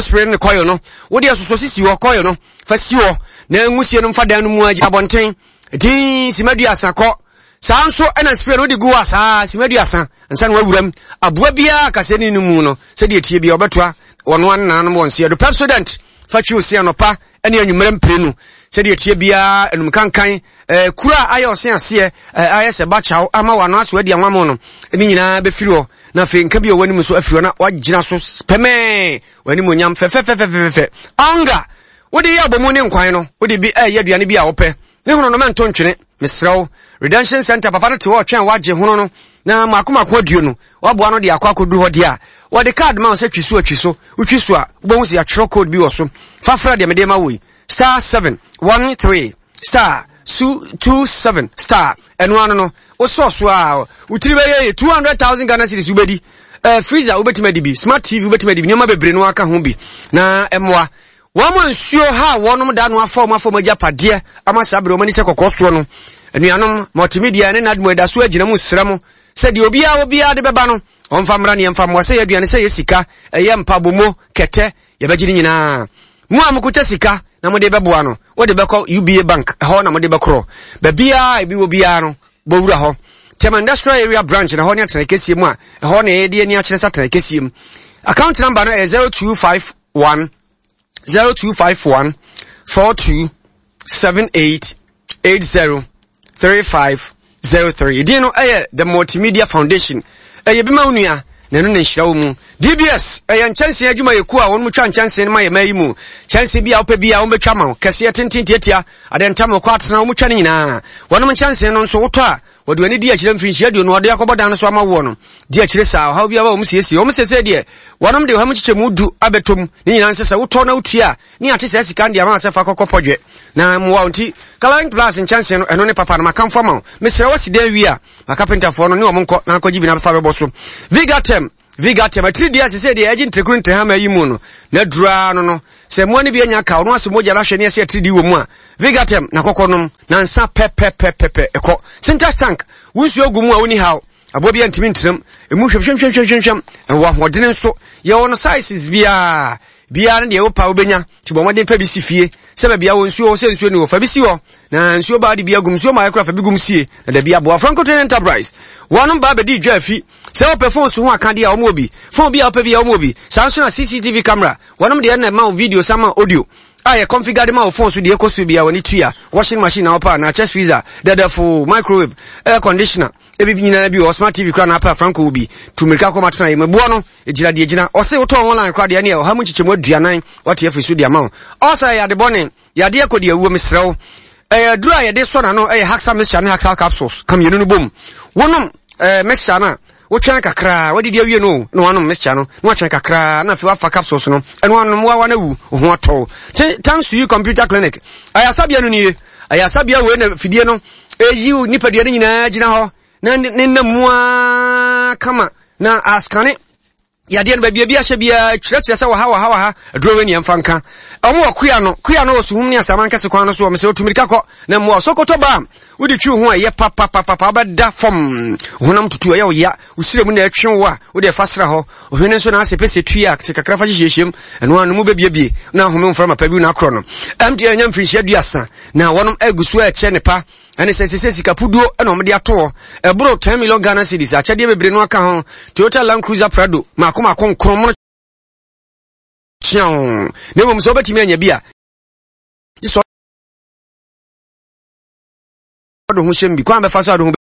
Franco spray ne kɔyɔ no, wode asosɔ sisi hɔ kɔyɔ no, fa si hɔ na nwusie no mfa dan no mu agyina abɔnten. Din sima duasa kɔ. Saa nso ɛna spray no wode gu hɔ a saa sima duasa nsa na wawuram. Aboa biara kasɛni no mu no, sɛdeɛ tie biara wɔbɛtoa wɔn ano nananom wɔn seɛ do. Pepsodent fa twi ose anɔpa ne anwummerɛ mprenu sɛdeɛ ɛteɛ biara anum kankan eh, kuro a ayɛ ɔse aseɛ eh, ayɛ sɛ bakyaw ama wano ase wadi anwamo no ne nyinaa bɛfiri hɔ na afei nka bi a w'anim nso afiri hɔ na wagyina so pɛmɛɛ w'anim onyam fɛfɛfɛfɛfɛ ɔnga wode yɛ abɔmu ne nkwan no wode bi ɛyɛ aduane bi a wopɛ Ne hono no mɛnto ntwene, mesrɛ wo. Redemption Center papa no te hɔ ɔtwɛn wagye hono no na mako mako aduonu waboa no de akɔ akɔduru hɔ deɛ a wɔde card ma wo sɛ twi so atwi so wotwi so a wobɛhu sɛ yɛatwerɛ code bi wɔ so fa frɛ deɛ mede ma wo yi star 713 star su 27 star ɛno ano no wosɔ so a wotiri bɛyɛ yɛ 200,000 Ghana cedis wobɛdi uh, freezer wobɛtumi adi bi smart TV wobɛtumi adi bi nneɛma bebree no aka ho bi na ɛmmoa Wɔn a nsuo haa wɔnom da no afa wɔn afa wɔn agyapadeɛ ama saa berɛ wɔn ani kyɛ kɔkɔɔ soɔ no. Anuanom, Multimedia ne NADMO ɛda so agyina mu srɛ mo sɛ deɛ obiara wɔ biara de bɛba no, ɔmfa mmra ne yɛmfa mmoa, sɛ ɛyɛ aduane, sɛ ɛyɛ sika, ɛyɛ mpabomo, kɛtɛ, yɛbɛgye ne nyinaa. Mo a mokuta sika na mode bɛboa no, wode bɛkɔ UBA Bank, ɛhɔ na mode bɛkorɔ. Baabiara a ebi wɔ biara no, bɔ wura hɔ. Tema Industrial Area Branch na ɛhɔ ne atenae kɛseɛ mu a ɛhɔ na yɛde ani akyerɛ sɛ atenae kɛseɛ mu. Account number no ɛyɛ 0251 0251 42 78 80 35 03. Edin no ɛyɛ The Multimedia Foundation. Ɛyɛ bi ma wo nua na ɛno na nhyira wɔ mu. DBS ɛyɛ nkyɛnsee adwuma yɛ kuo a wɔn twa nkyɛnsee no ma yɛ ma yi mu. Kyɛnsee bi a wopɛ bi a wɔn bɛtwa ma wo kɛseɛ tenten tiatia adeɛ ntam kɔ atena wɔn twa no nyinaa. Wɔnom nkyɛnsee no nso wotɔ a Wɔde wɔn ani di akyire mfirinhyia aduonu a wɔde akɔbɔ dan no so ama woɔ no. Di akyire saa, ɔhaw biara wɔn siesie. Wɔn seesei deɛ, wɔnom de ɔha mu nkyekyɛmu du abɛtɔ mu. Ne nyinaa nsɛ sɛ wotɔ na wotua a, ne ate saa sika no de ama sɛ fa kɔkɔ pɔdwɛ na mmoa wo. Nti, Coloring Plus nkyɛnsee no, ɛno ne papa no. Makamfo ama wo. Mesrɛ wo asi dan wie a, ma kapentafoɔ no ne wɔn nkɔ na akɔgye bi na fa bɛbɔ so. Vigatem. Vigatem, atiridii a sesei deɛ ɛgye ntirekuru ntirehama yi mu no, na aduru ara no no. Sɛ mmoa no bi anya kaw na wɔasɔ mogya no ahwɛ ne ɛsɛ atiridii wɔ mu a, Vigatem na kɔkɔ nom na nsa pɛpɛpɛpɛpɛ ɛkɔ. Sintex tank, wo nsuo gu mu a wonni haw. Aboa bi antumi ntenam. Emu hwamhwamhwamhwamhwam. Ɛwɔ ahoɔdene nso. Yɛwɔ no sizes biara. Biara ne deɛ wopɛ a wobɛnya. Nti bɔ mmɔden pɛ bi si fie. Sɛ baabi a wɔ nsuo wɔ sɛ nsuo ni hɔ, fa bi si hɔ. Na nsuo baa de bi agum. Nsuo ma ayɛ koraa fa bi gum sie. Na dabi aboa. Franco Trading Enterprise. Wɔnom baa bɛdii dwa afi. Sɛ wopɛ phone so ho akadeɛ a, wɔn wɔ bi. Phone bi a wopɛ bi a, wɔn wɔ bi. Saa nso na CCTV camera, wɔnom deɛ na ɛma wo video san ma audio a yɛ configure de ma wo phone so deɛ ɛkɔ so biara w'ani tua. Washing machine na wopɛ anaa chest freezer, dɛdɛfo, microwave, air conditioner, ebi nyinaa bi wɔ hɔ. Smart TV koraa na apɛ a Franco wɔ bi. Tu mmirika kɔ ma tena yɛ mu. Ɛboɔ no, ɛgyina deɛ ɛgyina. Ɔse wotɔn online koraa deɛ ɛneɛ ɔha mu nkyekyɛmu aduanan wate afiri so de ama wo. Ɔsa ɛyɛ ade bɔne. Yadeɛ kɔ deɛ awuo mesrɛ wo. Ɛyɛ aduro a yɛde sɔ n'ano ɛyɛ Haxa mixture ne Haxa capsules ka mmienu no bom. Wonom ɛɛ mixture no a wotwɛn kakraa wadidi awie no na wanom mixture no na watwɛn kakraa na afei wafa capsules no ɛno anom wawa no awu wo ho atɔ wo. Thanks to you computer clinic. Ayasabea no nie. Ayasabea wei na fidie no ɛyi nipadua no nyinaa gyina hɔ na ne nam mu ara kama na askane Yadeɛ no baabi a bi ahyɛ biara kyerɛkyerɛ sɛ wɔha wɔha wɔha aduro wei neɛ mfa nka. Wɔn wɔ kua no kua no wɔ suhum ne asaman kɛse kwan no so wɔ mesɛ otu mirika kɔ na mmoa sokoto ba wode twi ho a ɛyɛ papapapapa wobɛda fam honam tutu ɛyɛ wo ya wo srɛ mu na ɛtwe wo a wode ɛfa sra hɔ ohwene nso na ase pɛ sɛ tui a te kakra fa hyehyɛhyɛm ɛno ano mu bɛbiebie na ahome mframa pa bi na akorɔ no MTN nya mfirinhyia duasa na wɔnom agu so ɛkyɛ ne pa Ɛne sɛ sese sika puduo na wɔde ato hɔ. Ɛboro 10 million Ghana cedis. Akyɛdeɛ bebree no aka ho. Toyota Land Cruiser Prado mako mako nkron mono kyeaw. Na mmom sɛ wobɛtumi anya bi a, gye sɛ ɔde ho hyɛm bi. Kwan bɛfa so ade ho